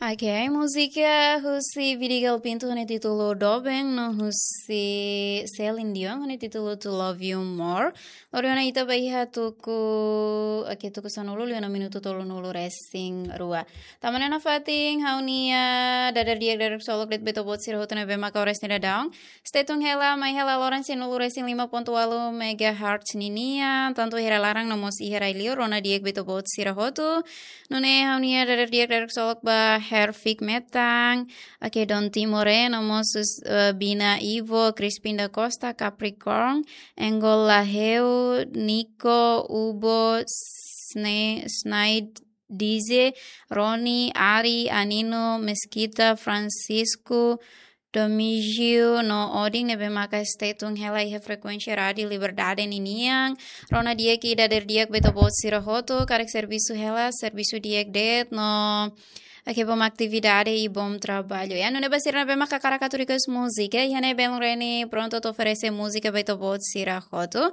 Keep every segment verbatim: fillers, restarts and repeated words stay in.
Ok, múzika husi Vidigal Pinto ho nia títulu Doben, no husi Celine Dion ho nia títulu To Love You More. Lori ona ita ba iha tuku, ok, tuku sanulu liu ona minutu tolunulu resin rua. Tama ona nafatin ha'u-nia dadeer di'ak dadeer ksolok de'it ba ita-boot sira hotu ne'ebé maka oras ne'e daudaun. Stay tune hela, mai hela loron cem nulu resin lima ponto walu megahertz ninian, tantu iha rai laran no mós iha rai liur, rona di'ak ba ita-boot sira hotu. Nune'e ha'u-nia dadeer di'ak dadeer ksolok ba Herfik Metan, ok, Don Timore, no mós, eh, Bina Ivo, Crispin da Costa, Capricorn, Engol Laheu, Nico, Ubo, Sne-, Snaid, Dize, Roni, Ari, Anino, Mesquita, Francisco, Domingio, no Odin, ne'ebé maka stay tune hela iha frekuénsia Rádiu Liberdade ninian. Rona di'ak i dadeer di'ak ba ita-boot sira hotu, karik servisu hela, servisu di'ak de'it, no ok, bom atividade i bom trabalho. Ya, nune'e ba sira ne'ebé maka hakarak atu request múzika, iha ne'e belun Reni prontu atu oferese múzika ba ita-boot sira hotu.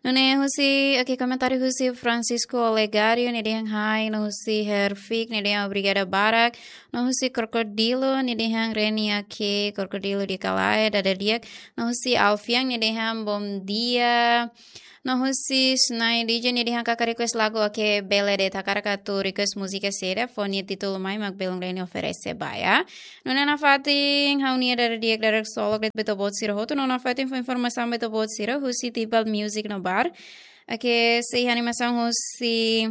Nune'e husi, ok, komentáriu husi Francisco Olegário, nia dehan hi, no husi Herfik, nia dehan obrigada barak, no husi Krokodilo, nia dehan Reni, ok, Krokodilo di'ak ka lae, dadeer di'ak, no husi Alfian, nia dehan bom dia, no husi Snai D J, nia dehan hakarak request lagu, ok, bele de'it, hakarak atu request múzika saida, fó nia títulu mai mak belun Reni oferese ba, ya. Nune'e nafatin ha'u-nia dadeer di'ak dadeer ksolok de'it ba ita-boot sira hotu, no nafatin fó informasaun ba ita-boot sira husi Tibal Music no Bar. Ok, sei animasaun husi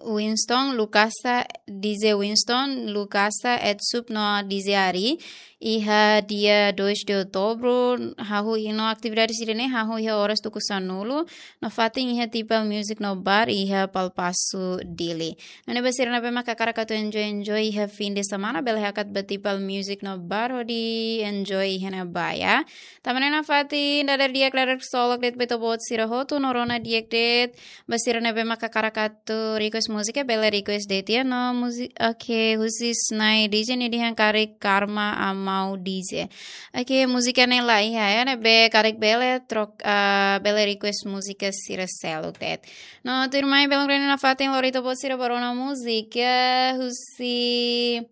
Winston, Lucasa, Dize Winston, Lucasa, Edsup no Dize Ari. Iha dia dois de outubro, hahú iha no atividade sira-ne'e, hahú iha oras tuku sanulu, nafatin iha Tibal Music no Bar, iha Palpasu Dili. Nune'e ba sira ne'ebé maka hakarak atu enjoy, enjoy iha fim de semana, bele hakat ba Tibal Music no Bar, hodi enjoy iha ne'ebá, ya. Tama ona nafatin, dadeer di'ak dadeer ksolok de'it ba ita-boot sira hotu, no rona di'ak de'it, ba sira ne'ebé maka hakarak atu request múzika, bele request de'it, ya, no múzi-, ok, husi Snai D J nia dehan karik Karma Amau D J. Ok, múzika ne'e la iha, ya, ne'ebé karik bele trok-, ah, bele request múzika sira seluk de'it. No, tuirmai belun Reni nafatin lori ita-boot sira ba rona múzika, husi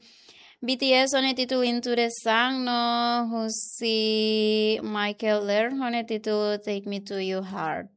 B T S ho nia títulu Into the Sun, no husi Michael Learns ho nia títulu Take Me to Your Heart.